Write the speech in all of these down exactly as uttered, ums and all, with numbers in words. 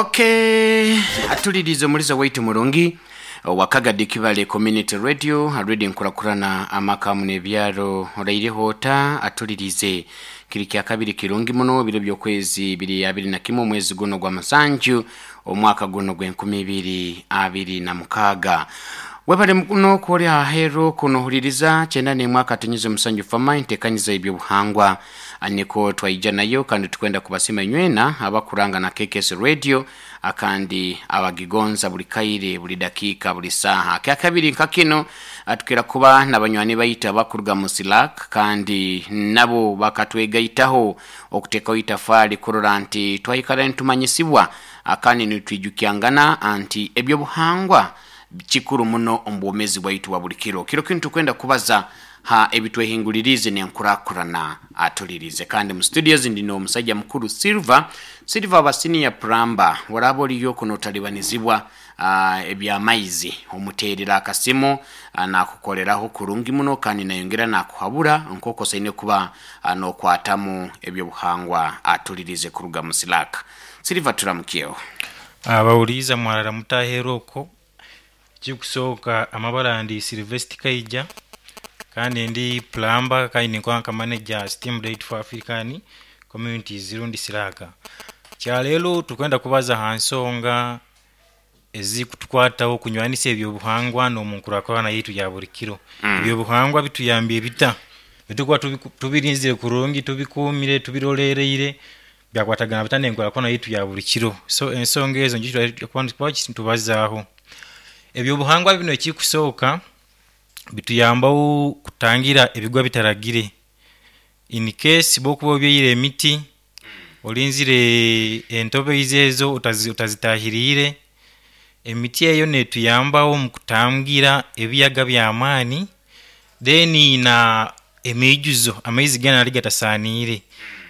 Okay, atulirize omuliza waitu murungi wakagadi Kibale Community Radio, radio nkurakurana amaka n'ebyaro. Oraireho ota? Atulirize kiri kya kabiri kirungi muno, biro by'okwezi biri abiri na kimwe, omwezi guno gwa musanju, omwaka guno gw'enkumi ibiri abiri na mukaaga. Webale muno kwori ahero kunohuririza kyenda n'emwaka tunyuze musanju fama entekanyiza ebyobuhangwa niko twaija nayo, kandi tukwenda kubasima inywena abakuranga na K K S Radio akandi abagigonza buli kaire, buli dakika, buli saha. Kya kabiri nka kino atukira kuba n'abanywani baitu abakuruga mu Silak, kandi nabo bakatwegaitaho okutekaho itafaali kurora nti twahikara nitumanyisibwa akandi nitwijukyangana anti ebyobuhangwa kikuru muno omu bwomezi bwaitu bwa buli kiro. Kiro kinu tukwenda kubaza ha ebitwehingulirize nenkurakurana. Atulirize kandi mu studios ndino omusajja mukuru Silver Silver aba senior plumber. Waraba oliyo kuno otalibanizibwa uh, ebyamaizi, omuterera akasimu, uh, nakukoleraho kurungi muno kandi nayongera nakuhabura nk'oku osaine kuba uh, nokwatamu ebyobuhangwa. Atulirize kuruga mu Silaka. Silver, turamukyeho. Abawuliza mwarara mutahera okwo. Ekikusooka, amabara ndi Silvest Kaija, kandi ndi plumber, kandi ninkola nka manager Steam Light for African Communities rundi Siraka. Kyaleero tukwenda kubaza ha nsonga ezikutukwataho kunywanisa ebyobuhangwa n'omunkurakurana yaitu ya buli kiro. mm. Ebyobuhangwa bituyambye bita bitukuba tubiku- tubirinzire kurungi, tubikuumire, tubirolereire, byakwatagana bita n'enkurakurana yaitu ya buli kiro? So ensonga ezo njo tubazaaho. Ebyobuhangwa bino, ekikusooka, bituyambaho kutangira ebigwa bitaragire. In case bwokuba obyaire emiti, olinzire entobeizi ezo utazi- utazitahiriire, emiti eyo netuyambaho mu kutangira ebiyaga by'amaani, then na emiijuzo, amaizi gani ali gatasaniire.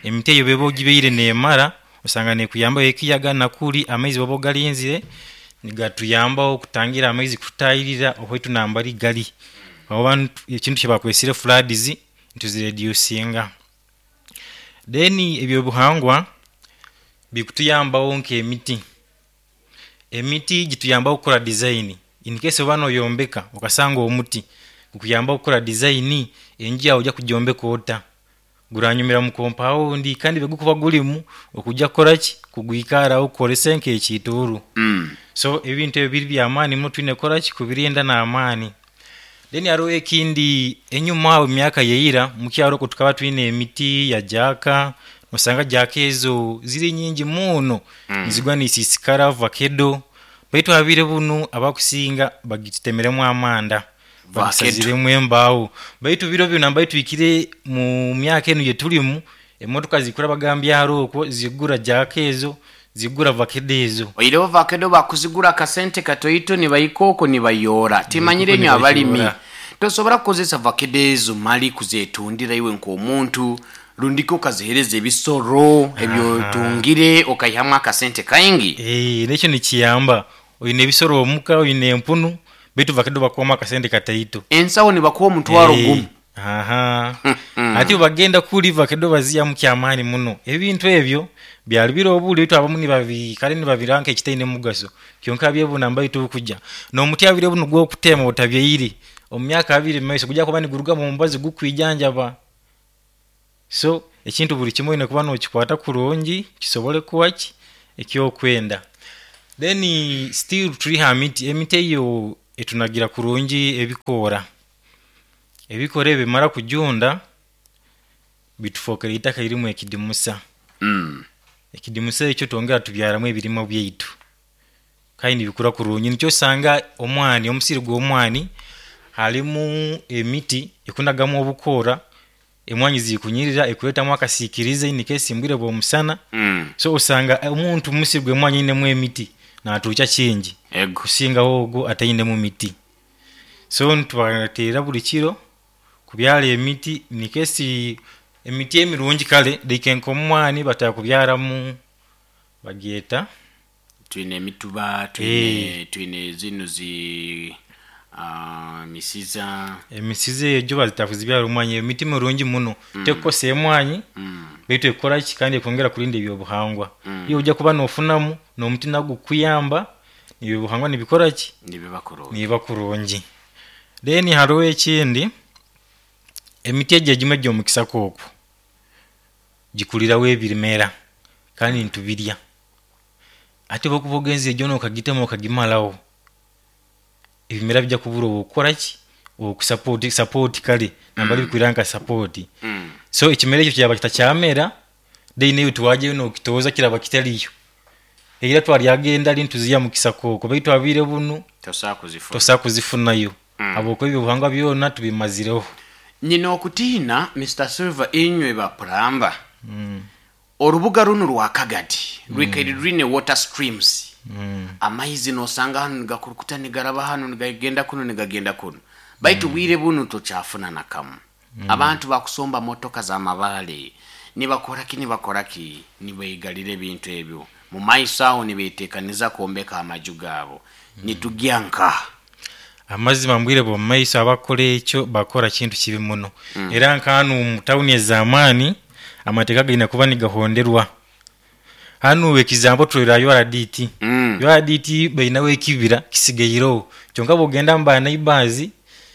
Emiti eyo bweba ogibaire nemara, osanga nekuyambaho ekiyaga nakuli amaizi oba ogalinzire nigatuyambaho kutangira amaizi kututahirira owaitu nambari gali, oba ntu- ekintu kyebakwesire floods ntuzireducinga. Then ebyobuhangwa bikutuyambaho nk'emiti. Emiti gituyambaho kukora design. In case oba noyombeka okasanga omuti gukuyambaho kukora design, enju yawe ojja kugyombeka ota guranyumira mu compound, kandi bwegukuba gulimu okujja kukoraki kugwikaraho kukorese nk'ekiituuru. mm. So ebintu ebyo biri byamaani muno, twine kukoraki kubirinda n'amaani. Then hariho ekindi, enyuma aho emyaka yaira mukyaro okwo tukaba twine emiti ya jaaka. Osanga jaaka ezo ziri nyingi muno, Mm. nizigwa nisiisikara vakedo, baitu habire bunu abakusinga bagitemeremu amanda, bagisaziremu embaawo. Baitu biro binu nambaye tuhikire mu myaka enu gyetulimu, emotoka zikura bagambyaro okwo zigura jaaka ezo, zigura vakedo ezo. Oireho vakedo bakuzigura akasente katoito, nibaika nibayoora. Timanyire Nibaika nyo abalimi nibayoora. Tosobora kukozesa vakedo ezo mali kuzetundira iwe nk'omuntu, rundiko okazihereza ebisoro ebyotungire okaihamu akasente kaingi. Eh, nekyo nikiyamba. Oyine ebisoro omuka, oyine empunu, baitu vakedo bakuwamu akasente kataito. Ensawo nibakuwa omutwaro Eh, gumu. Aha, ati bagenda kuli vakedo baziyamu kyamaani muno. Ebintu ebyo byali biro obuli, baitu abamu nibabi kale nibabiranga ekitaine mugaso, kyonka byebuna mbai tukujja n'omuti abire buno gwokutema otabyaire, omu myaka abiri mumaiso gujja kuba nigurugamu omubazi gukwijanjaba. So ekintu buli kimwe oyine kuba nokikwata kurungi kisobole kuba ki ekyokwenda. Then still turi ha miti. Emiti eyo etunagira kurungi ebikoora. Ebikoora ebyo bimara kujunda, bitufokera itaka lirimu ekidimusa. mm. Ekidimusa ekyo twongera tubyaramu ebirimo byaitu kandi nibikura kurungi. Nikyo osanga omwani, omusiri gw'omwani halimu emiti ekunagamu obukoora, emwanyi zikunyirira, ekureetamu akasiikirize in case mbwire bw'omusana. Mm. So osanga omuntu musiri gw'emwanyi ainemu emiti natuukya kingi ego kusingaho ogwo atainemu miti. So nitubateera buli kiro kubyara emiti nikesi emiti emirungi kale like nk'omwani batera kubyaramu bagyeta Twine emituba, twine twine zino zi ah, misiza. Emisiza egyo bazitakuzibyara omwanya, emiti mirungi muno, tekukosa emwanyi, mm. baitu ekora ki kandi ekwongera kurinda ebyobuhangwa. Mm. Iyo ojja kuba nofunamu n'omuti nagwo gukuyamba, ebyobuhangwa nibikora ki, nibiba kurungi. Nibiba kurungi. Then hariho ekindi, emiti egyo egimwe egy'omukisaka okwo gikuriraho ebimera kandi nitubirya. Ate bwokuba ogenzere gyona okagitema okagimaraho, ebimera bijja kubura ow'okukora ki, owokusapoti sapoti kare nambari bikwira nka sapoti. Mm. So ekimera ekyo kyaba kitakyamera, then iwe tiwajyayo n'okitooza kiraba kitariyo. Era twaryaga endari nituziiha mu kisaka okwo, baitu habwire bunu tosobola kuzifuna. Tosobola kuzifunayo, Mm. habwokuba ebyobuhangwa byona tubimazireho. Nyina okutiina, Mister Silver, inywe bapuramba, mm. orubuga runo rwa Kagadi rwikaire rwine water streams, Mm. amaizi nosanga hanu nigakurukuta nigaraba hanu nigagenda kuno nigagenda kuno, baitu bwire bunu tokyafuna nakamu. Abantu bakusomba motoka z'amabaale, nibakoraki nibakoraki, nibaigalira ebintu ebyo mu maiso aho, nibetekaniza kwombeka amaju gaabo. Nitugya nka Amazima mbwire bw'omu maiso abakora ekyo bakora kintu kibi muno. Era nk'hanu mu tawuni ez'amaani amateeka gaine kuba nigahonderwa. Hanu ekizambo turora U R D T. Mm. U R D T bainaho ekibira kisigaireho kyonka bwogenda mu ba neighbors,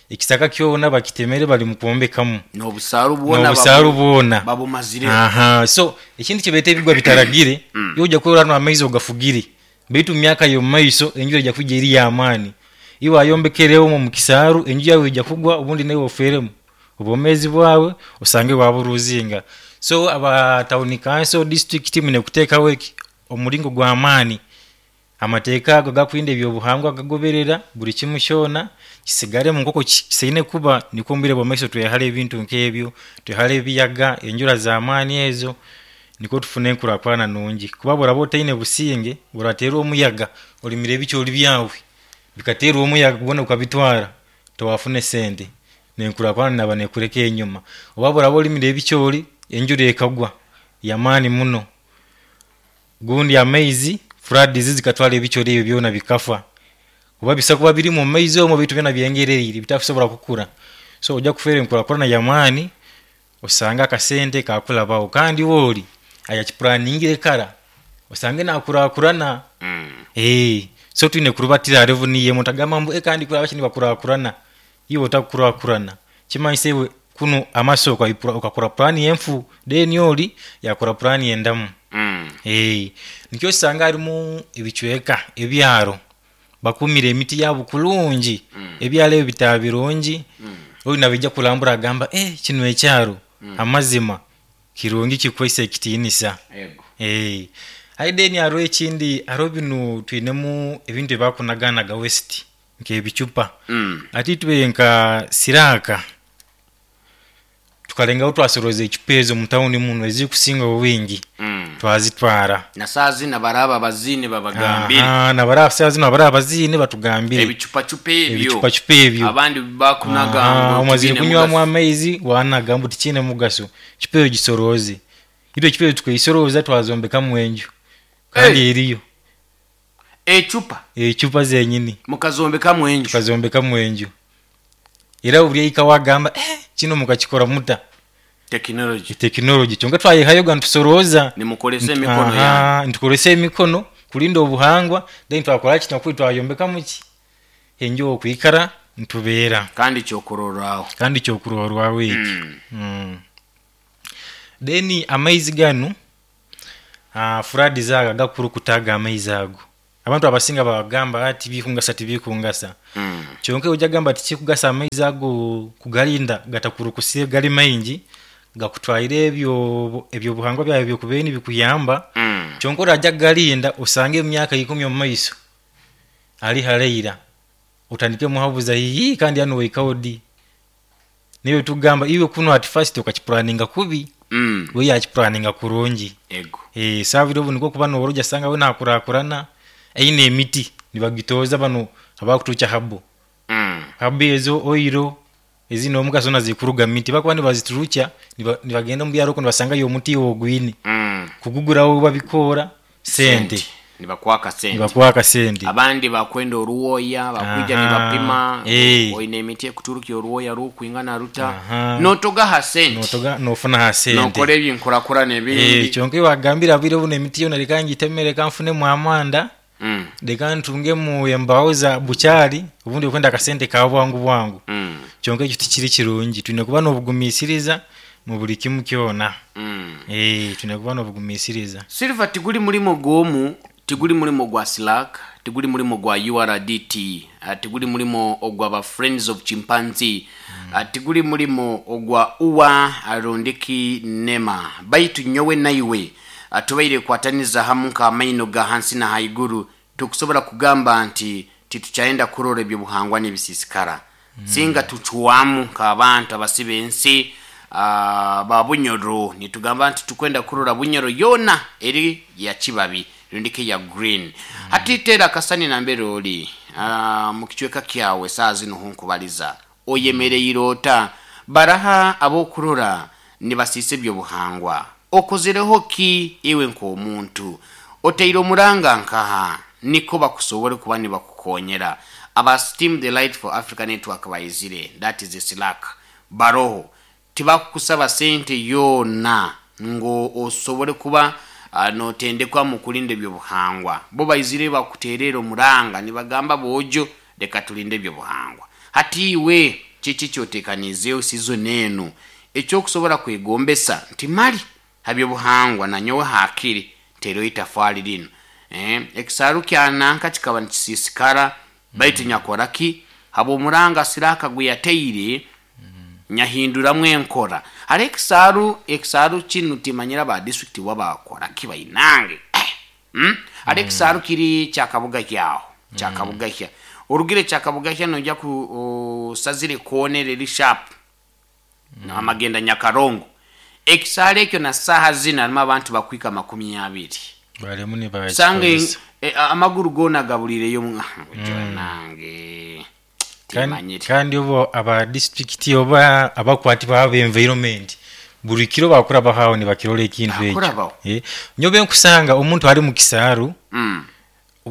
ekisaka kyona bakitemere, bali mu kwombekamu. N'obusaaru bwona. N'obusaaru babu- bwona babumazireho. Aha, so ekintu kibeeta ebigwa bitaragire. Mm. Iwe ojja kurora hanu amaizi ogafugire, baitu mu myaka y'omu maiso enjura ejja kwija eri y'amaani, iwe wayombekereho omu kisaaru, enju yawe ejja kugwa, obundi naiwe ofeeremu obwomeezi bwawe osange waburuzinga. So aba town council, district, mwine kuteekaho eki omuringo gw'amaani, amateeka ago gakurinda ebyobuhangwa gagoberera, buri kimu kyona kisigaremu nk'oku kisaine kuba, nikwo omu bwire bw'omu maiso twehare ebintu nk'ebyo, twehare ebiyaga, enjura z'amaani ezo, nikwo tufune enkurakurana nungi. Kuba bworaba otaine businge, orateerwa omuyaga, orimire ebicoori byawe bikateerwa omuyaga gwona gukabitwara, towafuna esente n'enkurakurana naaba nekureka enyuma. Oba bworaba orimire ebicoori, enjura ekagwa y'amaani muno, gundi amaizi floods zikatwara ebicoori ebyo byona bikafa, oba bisa kuba birimu omu maizi omwo baitu byona byengereire bitakusobora kukura, so ojja kufeerwa enkurakurana y'amaani, osange akasente kakurabaho kandi iwe ori ayakiplaningire kara osange nakurakurana. Mm. Ee, so twine kurubatira ha level niyo emwe. Otagamba ngu kandi kuri abaki nibakurakurana, iwe otakukurakurana, kimanyisa iwe kunu amaso okakora plan enfu, then ori yakora plan endamu. Mm. Ee, nikyo osanga harimu ebicweka ebyaro bakumire emiti yaabo kurungi, Mm. ebyaro ebyo bitaba birungi. Mm. Ori nabaija kurambura agamba, eh, kinu ekyaro amazima kirungi, kikwaisa ekitiinisa. Ego. Ee, aye then hariho ekindi, hariho binu twinemu ebintu ebibakunaganaga waste nk'ebicupa. Mm. Ati itwe nka Siraaka tukalengaho twasoroza ecupa ezo mu tawuni muno ezikusinga obwingi, Mm. twazitwara. Na saa zina baraba bazine babagambire. Aha, nabari saa zino abari abaziine batugambire. Ebicupacupa ebyo. Ebicupacupa ebyo. Abandi bakunaga Aha, ngo omazire tibiine kunywamu mugaso. Amaizi wanaga mbu tikiine mugaso, ecupa eyo gisorooze. Itwe ecupa eyo tukaisoroza twazombekamu enju kandi Hey! eriyo. Ecupa? Ecupa zenyini. Mukazombekamu enju? Tukazombekamu enju, era buri eika wagamba, eh, kino mukakikora muta? Tekinology. Tekinology, kyonka twayihayoga nitusorooza. Nimukolesa emikono yanyu. Aha, nitukoresa emikono kurinda obuhangwa, then twakora ki nakuri twayombekamu ki enju okwikara nitubeera. Kandi kyokurorraho. Kandi kyokurorwaho eki. Mm. Mm. Then amaizi ganu, uh, floods ago agakurukutaga amaizi ago, abantu abasinga babagamba ati bikungasa, tibikungasa. Mm. Kyonka ojja gamba tikikugasa amaizi ago kugarinda gatakurukusire gali maingi gakutwaire ebyo ebyobuhangwa byawe byokubeire nibikuyamba. Mm. Kyonka orajja kugarinda osange emyaka ikumi omu maiso ali haleira otandike muhabuza ii kandi hanu waikaho di, niwe tugamba iwe kuno at first okakipulaninga kubi. Mm. We yakipulaninga kurungi. Ego. Eh, saabire obu nikwo kuba noora ojasanga we nakurakurana aine emiti nibagitooza bano abakutuukya habo. Mm. Habo ezo oiro ezine omugaso zoona zikuruga mu miti, bakuba nibaziturukya niba- nibagenda omu byaro okwo nibasangayo omuti ogwine Mm. kuguguraho babikoora sente. Sente. Nibakwaka sente. Nibakwaka sente. Abandi bakwenda oruwoya, bakwija Aha. nibapima. Eh. Oine emiti ekuturuka oruwoya rukwingana ruta. Aha. Notogaha sente. Notoga nofuna ha sente. Nokora ebyenkurakurana Eh, ebindi. Kyonka wagambira bwire buno emiti yona reka ngitemere, reka nfunemu amanda, Mm. reka ntungemu embaho za bukyali, obundi okwenda akasente ka bwangu bwangu. Mm. Kyonka ekyo tikiri kirungi, tulina kuba n'obugumiisiriza mu buli kimu kyona. Mm. Eh, tulina kuba n'obugumiisiriza. Silver, tiguli mulimo gwomu, tiguli mulimo gwa SLAAC, tiguli mulimo gwa U R D T, uh, tiguli mulimo ogwa ba Friends of Chimpanzee, mm. uh, tiguli mulimo ogwa uwa arondeki nema, baitu nyowe naiwe uh, tubaire kwataniza hamu nk'amaino ga hansi na haiguru, tukusobola kugamba nti titukyayenda kurora ebyobuhangwa n'ebisisikara. mm. Singa tucwamu nk'abantu abasiba ensi uh, ba Bunyoro, nitugamba nti tukwenda kurora Bunyoro yona eri ya kibabi rundike ya green. mm. Hati tera akasani nambere oli uh, mu kicweka kyawe saa zino hunkubaliza oyemereire ota baraha abokurora nibasiisa ebyobuhangwa, okozereho ki iwe nk'omuntu, oteire omuranga nkaha niko bakusobole kuba nibakukonyera? Aba Steam the Light for Africa Network bayizire, that is SLAAC, baroho tibakukusaba sente yona ngo osobole kuba uh, notendekwa mu kulinda ebyobuhangwa. Bo bayizire bakuterera omuranga nibagamba bojo reka tulinde ebyobuhangwa. Hati iwe kiki kyotekanizeyo season eno ekyokusobola kwegombesa nti mali habyobuhangwa nanyowe hakiri tereyo itafaali lino, eh, ekisaaru kyananka kikaba nikisisikara, baitu nyakoraki habwomuranga SLAAC gwe yateire nyahinduramu enkora. Hali ekisaaru ekisaaru kinu timanyira ba district wabakora kibainange, mm? Hali ekisaaru kiri kyakabuga kyaho kyakabuga kya orugire kyakabuga kya nojja ku osazire koonera eri sharp mm. Amagenda Nyakarongo, ekisaaru ekyo na saaha zino harimu abantu bakwika makumi abiri. Balemu sanga nibakikozesa. e, amaguru gona gabulireyo nange Kandi timanyire. Kandi obo aba district oba abakwatibwa aba environment buli kiro bakura bahawo nibakirora ekintu ekyo. Bakurabaho. Eh, nyobe nkusanga omuntu ali mu kisaaru mm.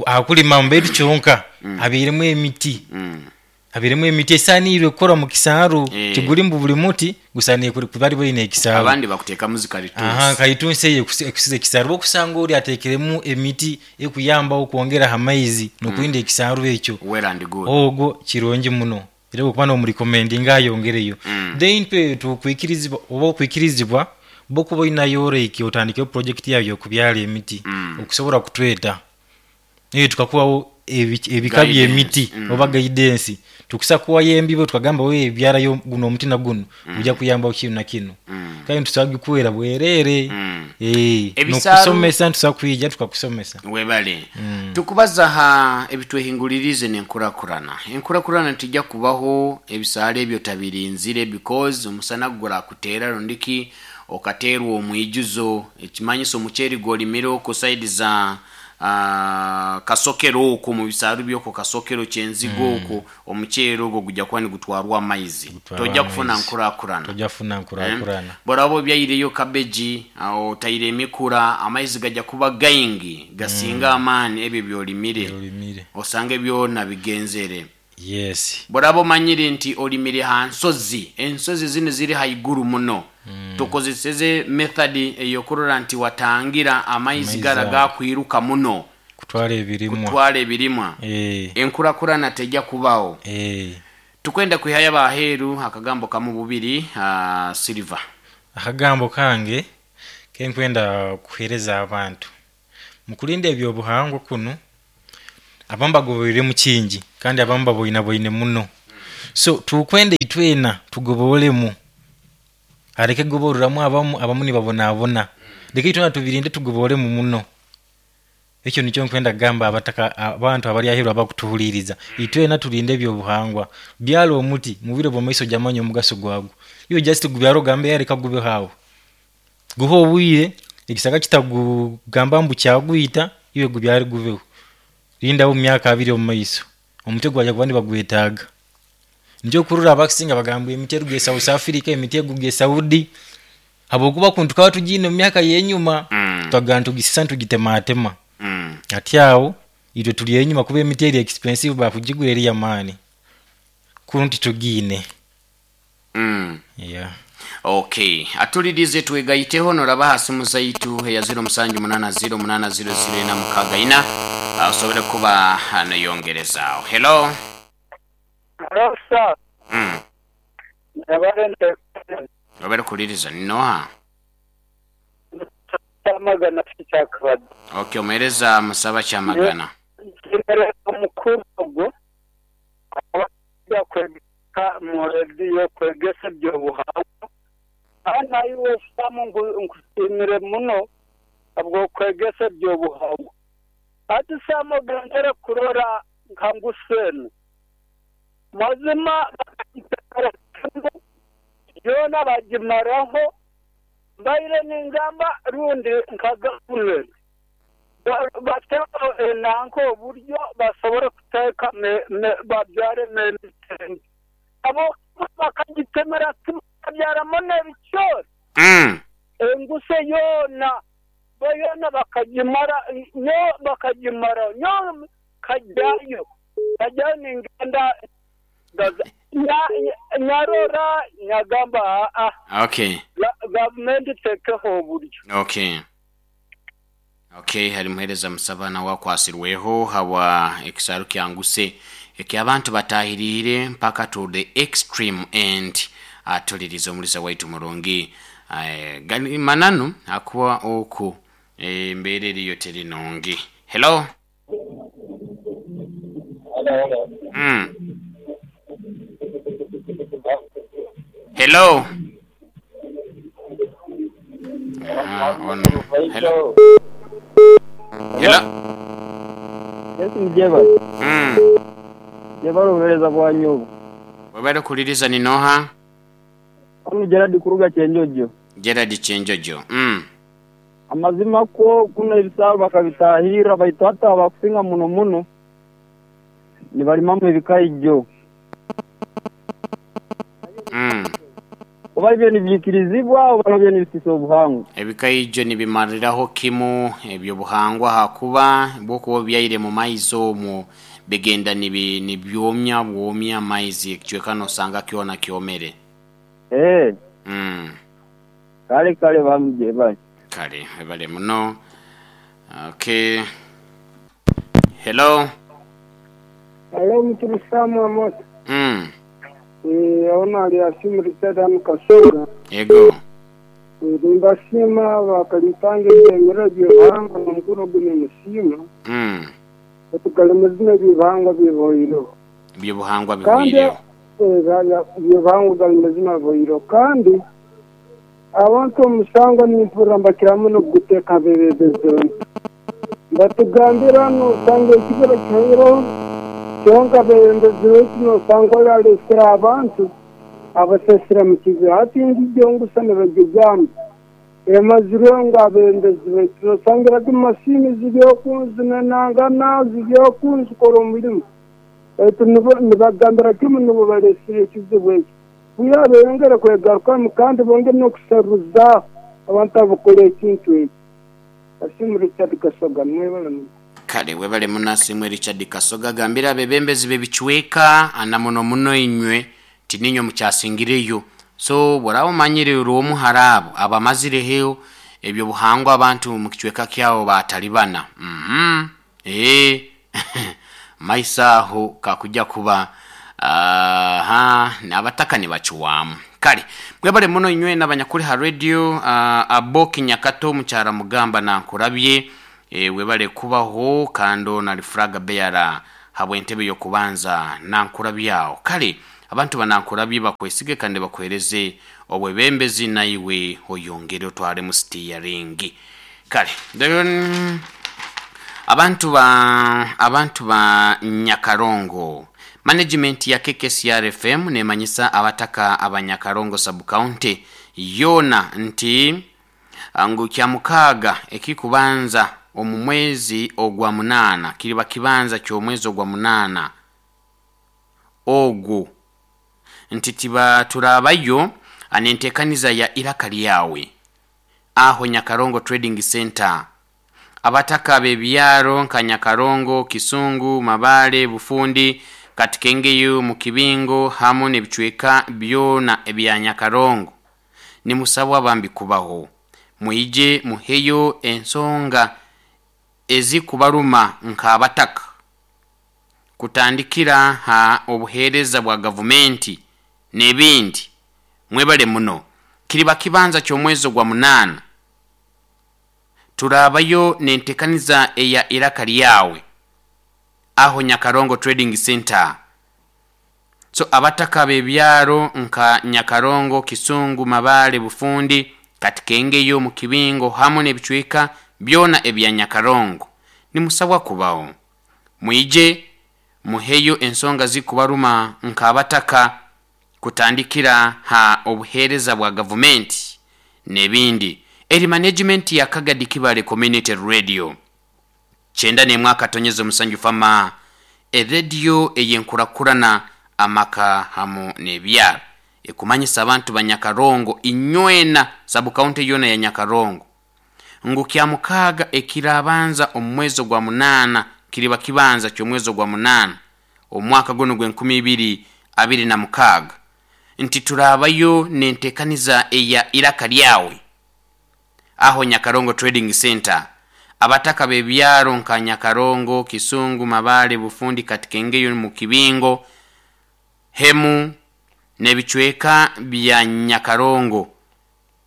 akulima mbetu kyonka abeeremu emiti, mm. abeeremu emiti esaaniirwe kukora mu kisaaru. Eh. Tiguli mbu buli muti gusaaniire kuri- kuba ari ekisaaru. Abandi bakuteekamu Aha, zikalitusi. kalitunsi eyo ekusi- ekusiza ekisaaru, okusanga oli ateekeremu emiti ekuyambaho okwongera amaizi n'okulinda ekisaaru ekyo. Well and good. Ogwo kirungi muno era okuba n'omurecommendinga ayongereyo. Mm. Then twe tukwikirizibwa oba okwikirizibwa bokuba olinayo oreki otandikeho project yayo okubyala emiti Mm. okusobola kutweta eyo tukakuwawo ebi- ebika Guidance. byemiti Mm. oba guidance, tukusa kuwayo embibo tukagamba we byalayo guno omuti na guno gujja kuyambaho kino na kino. Mm. Kandi tusobola gikuwera bwereere. Mm. Eh, Ebisaaru- nokusomesa ntusobola kwija tukakusomesa. Webale tukubaza ha ebitwehingulirize nenkurakurana, enkurakurana tijja kubaho ebisaala ebyo tabirinzire, because omusana gurakuteera rundiki okateerwa omwijuzo, ekimanyiso omuceeri gwolimire okwo side za uh, Kasokero okwo mu bisaaru byokwo Kasokero Kyenzigo okwo, omuceeri ogwo gujja kuba nigutwarwa amaizi. Gutwarwa Tojja kufuna amaizi. nkurakurana. Tojja kufuna nkurakurana. Boraba obyaireyo kabeji otaire emikura, amaizi gajja kuba gaingi gasinga amaani ebyo byolimire. Olimire. Osange byona bigenzere. Yes. Boraba omanyire nti olimire ha nsozi, ensozi zino ziri haiguru muno, tukozeseze method eyokurora nti watangira amaizi Amaizi gara ago. gakwiruka muno kutwara ebirimwa. Kutwara ebirimwa. Eh, Enkurakurana tejja kubaho. eh. Tukwenda kwihayo abaheeru akagambo kamu bubiri, uh, Silver. Akagambo kange kenkwenda kuhereza abantu mukulinda ebyobuhangwa kuno, abamu bagoberere mu kingi kandi abamu baboinaboine muno, so tukwenda itwena tugobolemu, aleke goboreramu abamu, abamu nibabonabona, leka itwena tubirinde tugobolemu muno. Ekyo nikyo nkwenda kugamba abataka abantu abali aheeru abakutuhuliriza, itwena tulinde ebyobuhangwa. Byala omuti mu bwire bw'omaiso ojamanya omugaso gwagwo. Iwe just gubyara ogambe yareka gubeho aho, guha obwire ekisaka kitagugamba mbu kyagwita, iwe gubyare gubeho, lindaho mu myaka abiri omu maiso omuti gwajja kuba nibagwetaaga. Nikyo okurora abakusinga bagamba emiti eruga e South Africa, emiti eguga e Saudi, habwokuba kuntu tukaba tugiine mu myaka y'enyuma. Mm. Twagamba nitugisisa nitugitematema. Mm. Ati awo itwe tuli enyuma kuba emiti eri expensive, bakugigura eri yamaani, kunu titugiine. Mm. Yeah. Okay, atulirize, twegayiteho noraba ha simu zaitu eya zero musanju munana zero munana zero zero ena mukaaga ina, osobole kuba noyongerezaawo. Hello. Hello, sir. Mm. Nabalente. Obere kuliriza ninoha? Kyamagana kyakabadi. Okay, omuhereza musaba Kyamagana. Nsimire omukuru ogwo abajja kwegesa mu rediyo, kwegesa ebyobuhangwa. Ana iwe Samu, nkusiimire muno habw'okwegesa ebyobuhangwa. Ati Samu, ogendere kurora nka ngusenu, mazima bakagitera yoona bagimaraho. Mbaire ningamba rundi nka gavumenti bateho enanka oburyo basobole kuteeka babyare emiti, abo bakagitemera kimwe babyaramu n'ebicoori. Mm. Enguse yoona yoona bakagimara nyo, bakagimara nyo, kajyayo kajyayo ningenda nyarora nyagamba aa. Okay. Gavumenti tekeho oburyo. Okay. Okay, hari muhereza musabana wakwasirweho hawa ekisaru kyanguse ekyabantu batahirire mpaka to the extreme end. Atuliriza omulisa waitu murungi. Eh, gani mananu akuwa oku embeera eriyo teri nungi. Hello. Hello. Mm. Hello. Ah, ono. Hello. Hello. Yesu mjeba. Mm. Jeba obuhereza bwanyu obu. Webale kuliriza ninoha? Ono Gerard kuruga Kyenjojo. Gerard Kyenjojo. Mm. Amazima ko kuno ebisaaru bakabitahirra, baitu hata abakusinga muno muno nibalimamu ebikaijjo. Mm. Oba ibyo nibyikirizibwa oba nabyo nibisisa obuhangwa? Ebikaijjo nibimariraho kimu ebyobuhangwa, hakuba bwokuba byaire mu maizi omwo bigenda nibi nibyomya bwomya amaizi, ekicweka nosanga kyona kyomere. Eh. Mm. Kale kale bamuje bale. Kale bale muno. Okay. Hello. Hello, Mutulu Samu Amos. Mm. Eh, ona ali asimu Richard Kasoga. Ego. Nimbasiima bakalitange ebyemera by'obuhangwa n'omukono guno musiima. Mm. Tukalemezina eby'obuhangwa biboireho. Ebyobuhangwa Kandi biboireho. Ebyobuhangwa galimezina biboireho. Kandi abantu omusango nimpurira mbakira muno kuguteeka abebembezi. Batugambira nosanga ekibira kihoireho, kyonka abebembezi baitu nosanga oyo abantu abasesera mu kibira. Hati ngijjo ngusa nibagigamba emazire ngu abebembezi baitu nosangiraga emasiini ziri oku zinanangana ziri oku zikora omurimo, baitu nibagambira kimu nibo balesire ekizibu ekyo. Kuya beyongere kwegarukamu kandi bongere n'okusaruza abantu abakora ekintu ekyo. Asimu Richard Kasoga, mwebale muno. Kale webale muno Asimu Richard Kasoga. Gambira abebembezi b'ebicweka ana muno muno inywe tininywe mukyasingireyo. So bw'oraba omanyire orwomu hari abo abamazireho ebyobuhangwa abantu mu kicweka kyawo batalibana. Mhm. Eh. Maisa aho kakujja kuba aha n'abataka nibakiwaamu. Kale mwebale muno inywe n'abanyakuri ha radio. uh, Aboki Nyakato mukyara mugamba nankurabye, e, webale kubaho kando na Flaga Beara habw'entebe y'okubanza nankurabyawo. Kale abantu banankurabye bakwesige kandi bakwereze obwebembezi naiwe oyongere otware mu steering. Kale then abantu ba abantu ba Nyakarongo management ya K K C R F M nemanyisa abataka abanyakarongo sub county yona nti angu kya mukaaga ekikubanza omu mwezi ogwa munana kiriba kibanza ky'omwezi ogwa munana ogwo nti tiba turabayo anentekaniza ya iraka lyawe aho Nyakarongo Trading Center Abataka b'ebyaro nka Nyakarongo, Kisungu, Mabale, Bufundi, Katikengeyo, Mukibingo hamu n'ebicweka byona ebya Nyakarongo, nimusabwa bambi kubaho, mwije muheyo ensonga ezikubaruma nk'abataka, kutandikira ha obuheereza bwa gavumenti n'ebindi. Mwebale muno. Kiriba kibanza ky'omwezi gwa munaana, turabayo nentekaniza eya iraka lyawe aho Nyakarongo Trading Center. So abataka b'ebyaro nka Nyakarongo, Kisungu, Mabale, Bufundi, Katikengeyo, Mukibingo hamu n'ebicweka byona ebya Nyakarongo, nimusabwa kubaho, mwije muheyo ensonga zikubaruma nk'abataka, kutandikira ha obuheereza bwa gavumenti n'ebindi. Eri management ya Kagadi Kibale Community Radio kyenda n'emwe akatonyeza omusanju fama, erediyo eyenkurakurana amaka hamu n'ebyaro, ekumanyisa abantu ba Nyakarongo inywena, sabu kaunti yona ya Nyakarongo, ngu kya mukaaga ekirabanza omu mwezi gwa munaana, kiriba kibanza ky'omwezi gwa munaana omwaka guno gw'enkumi ibiri abiri na mukaaga, nti turabayo nentekaniza eya iraka lyawe aho Nyakarongo Trading Center. Abataka b'ebyaro nka Nyakarongo, Kisungu, Mabale, Bufundi, Katikengeyo, Mukibingo, hemu n'ebicweka bya Nyakarongo,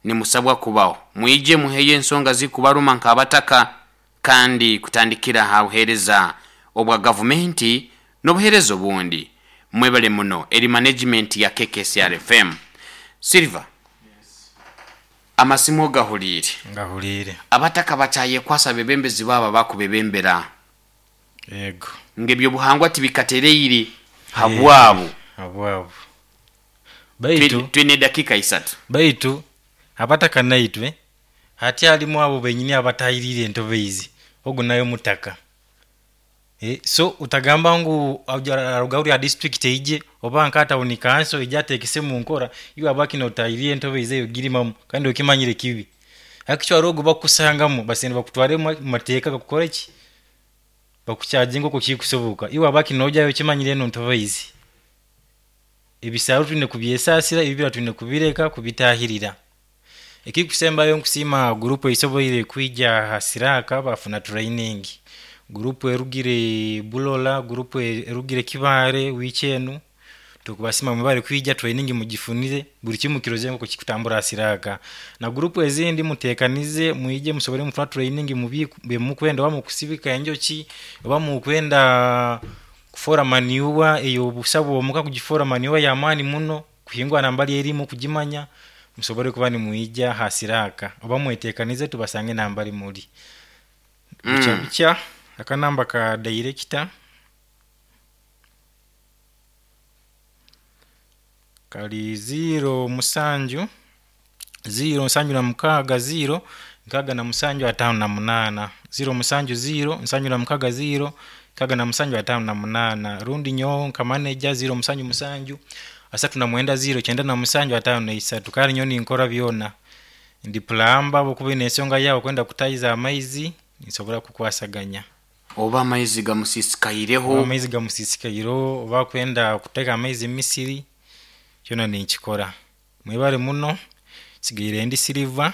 nimusabwa kubaho, mwije muheyo ensonga zikubaruma nk'abataka, kandi kutandikira ha buheereza obwa gavumenti n'obuheereza obundi. Mwebale muno. Eri management ya K K S R F M. Silver, amasimu gahuliire. Ngahuliire. Abataka bakyayekwasa bebembezi baaba bakubebembera. Yego. Ng'ebyobuhangwa tibikatereire habwabo. Habwabo. Baitu twine dakika isatu. Baitu abataka naitwe hati alimu abo benyini abatayirire entobe izi ogu nayo mutaka. E, so utagamba ngu aruga ya district eije oba nkata unikanso ejatekese mu nkora iwe abaki notayirire entobe izi eyo girimamu kandi okimanyire kibi. Akicho arogo bakusangamu basende bakutware mu mateeka gakukora ki bakucharginga ko kikusoboka iwe abaki nojayo kimanyire eno ntobe izi. Ebisaro tune kubyesasira ebibira tune kubireka kubitahirira. Ekikusembayo nkusima group eisoboire kwija hasiraka bafuna training. Group erugire Bulola, group erugire Kibare wichenu tukubasima mubare kwija training mugifunire buri kimu kiroze ngo kikutambura hasiraka. Na group ezindi mutekanize muije musobore mufuna training mubi mukwenda wa mukusibika enjoki oba mukwenda kufora maniwa eyo busabo omuka kugifora maniwa ya mani muno kuhingwa nambali elimu kujimanya musobore kuba ni muija hasiraka oba mwetekanize tubasange nambali muri. Mm. Bicha bicha akanamba ka director kali zero musanju zero nsanju na mukaga zero nkaga na musanju atano na munana zero musanju zero nsanju na mukaga zero kaga na musanju atano na munana rundi nyo nka manager zero musanju musanju asatu na mwenda zero chenda na musanju atano na isatu kali nyoni nkora byona ndi plamba bokuba n'ensonga yawo kwenda kutayiza amaizi nsobora kukwasaganya oba amaizi gamusisikaireho oba amaizi gamusisikaireho oba kwenda kuteka amaizi misiri kyona ninkikora. Mwebale muno. Sigaire ndi Silver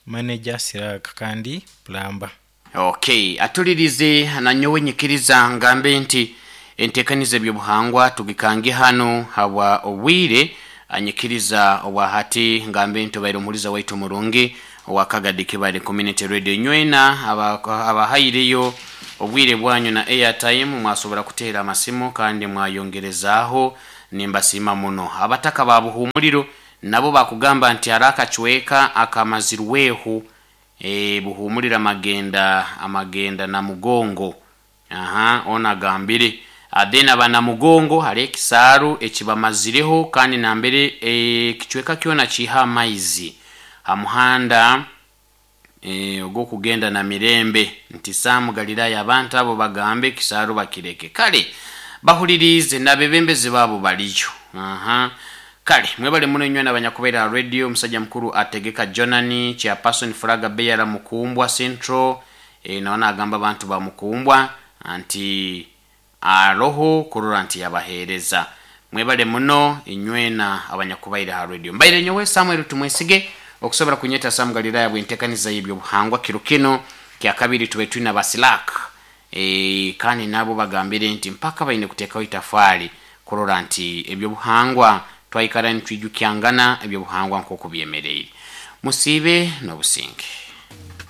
manager Siraka kandi plamba. Okay, atulirize nanyowe nyikiriza ngambe nti entekaniza ebyobuhangwa tugikange hano hawa obwire anyikiriza obwa hati ngambe nti obaire omuhuliza waitu murungi owa Kagadi Kibale Community Radio nywena abahaireyo obwire bwanyu na airtime mwasobora kuteera amasimu kandi mwayongerezaaho nimbasiima muno. Abataka ba Buhumuliro nabo bakugamba nti arakachweka akamazirweho e, Buhumulira magenda amagenda na Mugongo. Aha, ona gambire adena bana Mugongo hari ekisaaru ekibamazireho kandi nambere e, kichweka kyona kiha amaizi hamuhanda e, ogwokugenda na Mirembe nti Samu Galilaya abantu abo bagambe kisaaru bakireke kale bahulirize nabebembezi babo baliyo. Aha, kale mwebale muno nywe n'abanyakubeera radio. Omusajja mukuru ategeka Jonani chairperson Furaga Beyara Mukumbwa Central e, nawe nagamba abantu bamukumbwa nti aroho kurora nti yabaheereza. Mwebale muno inywena abanyakubaire ha radio. Mbaire nyowe Samuel Tumwesige, okusobora kunyeta Sam Galilaya bwentekaniza y'ebyobuhangwa kiro kino kya kabiri tube twina basilak e, kandi nabo bagambire nti mpaka baine kuteekaho itafaali kurora nti ebyobuhangwa twaikara nitwijukyangana ebyobuhangwa nk'oku byemereire. Musiibe n'obusinge.